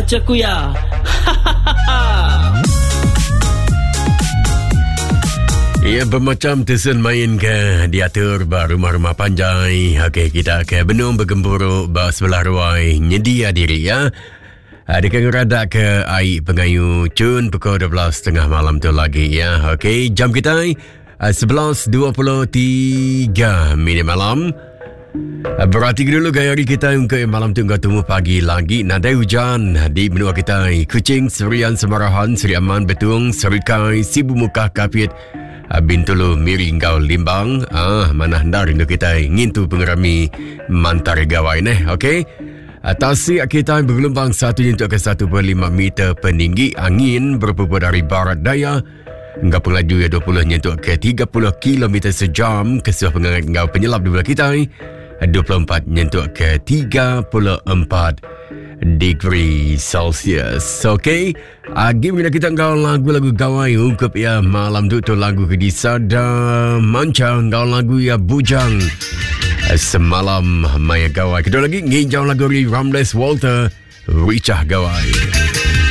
Jaku iya. Hahaha. Ya, bermacam tusun main ke diatur ba rumah-rumah panjai. Okey, kita ke benung begempuru ba sebelah ruai nyedia diri ya. Deka ngeradak ke ai pengayu cun pukul 12.30 malam tu lagi ya. Okey, jam kita 11.23 minit malam. Berarti dulu gaya hari kita untuk malam tu enggau temu pagi lagi nadai hujan di menua kita Kuching, Serian, Semarahan, Seri Aman, Betung, Serikai, Sibu Mukah, Kapit, Bintulu, Miri enggau Limbang. Ah, mana hendar rindu kita ngintu pengerami Mantar Gawai neh. Okey. Tasik kita bergelombang 1 nyentuk ke 1.5 meter peninggi angin berpuput dari barat daya enggau pengelaju iya 20 nyentuk ke 30 km sejam kesuah pengangat enggau penyelap di bulan kita 24 nyentuk ke 34 degree Celsius. Okey, agi mengena kita enggau lagu-lagu gawai ungkup ya malam tu tu lagu ke disada manca enggau lagu ya bujang semalam maya gawai. Kedua lagi nginjau lagu dari Ramles Walter Richah Gawai.